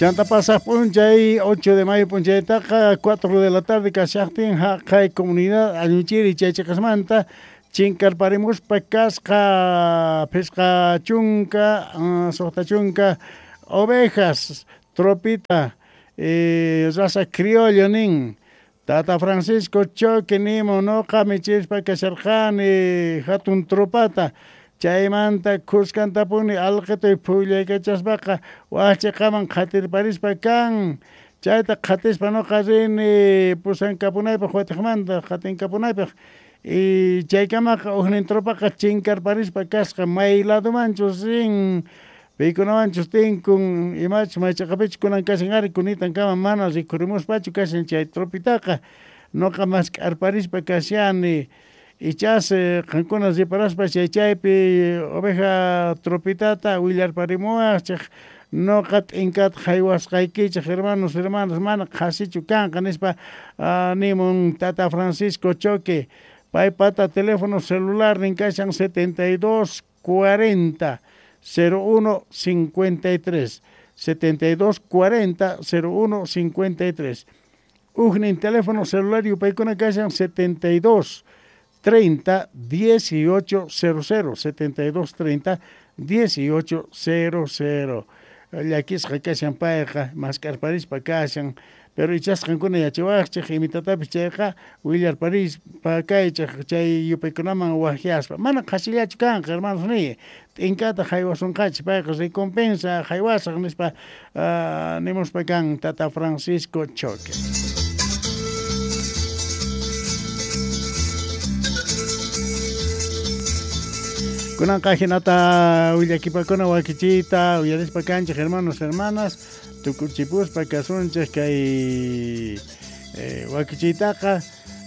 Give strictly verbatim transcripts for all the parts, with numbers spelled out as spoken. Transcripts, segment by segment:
Chanta pasaq p'unchay ocho de mayo p'unchaytaqa cuatro de la tarde kashaqtin haqay comunidad Añuchiri chay chiqasmanta chinkarparimuspa kasqa phisqa chunka suqta chunka ovejas tropita eh, raza criollo nin Tata Francisco Choque nimun noqa michispa kasharqani hatun tropata chaymanta kuskantapuni alqituy phullaykachaspaqa waqchiqaman qhatirparispa kan chayta qhatispa noqa rini pusankapunaypaq watiqmanta qatinkapunaypaq y chaykamaqa huknin tropaqa chinkarparispa kasqa may ladomanchus rin paykunawanchus tinkun imachus maychaqapichus kunan kashan ari kunitankama mana rikhurimuspachu kashan chay tropitaqa noqa mask'arparispa kashani ichas qankuna riparaspa chay chaypi oveja tropitata willarparimuwaqchik noqa t'inkata haywasqaykichik hermanos hermanas mana qhasichu kanqa nispa nimun Tata Francisco Choque paypata teléfono celular nin kashan setenta y dos cuarenta cero uno cincuenta y tres setenta y dos cuarenta cero uno cincuenta y tres Ujnin teléfono celular yupaykuna kashan setenta y dos treinta dieciocho cero cero setenta y dos treinta dieciocho cero cero llakisqa kashan payqa mask'arparispa kashan pero ichasqankuna yachawaqchik imitatapis chayqa willarparispa kaychik chay yupaykunaman waqyaspa mana qhasillachu kanqa hermanos niy t'inkata haywasunqachik payqa recompensa haywasaq nispa uh, nimuspa kan Tata Francisco Choque. Kunanqa hinata willakipakuna wakichiyta uyarispa kanchik hermanos hermanas tukuchipuspa kasunchik kay eh, wakichiytaqa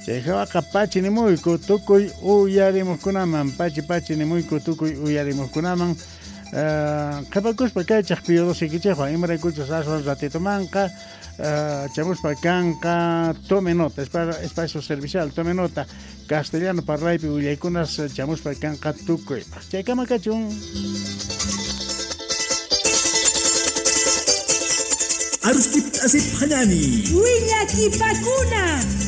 chay hawaqa pachi nimuyku tukuy uyarimuqkunaman pachi pachi nimuyku tukuy uyarimuqkunaman uh, qhipakuspa kaychik piyodosikichikwan imaraykuchus aswan ratitumanqa uh, chamuspa kanqa tome nota espacio servicial tome nota castellano parlaypi willaykunas chamuspa kanqa tukuypaq chaykama kachun. Arustip asip hanani. Willakipakuna.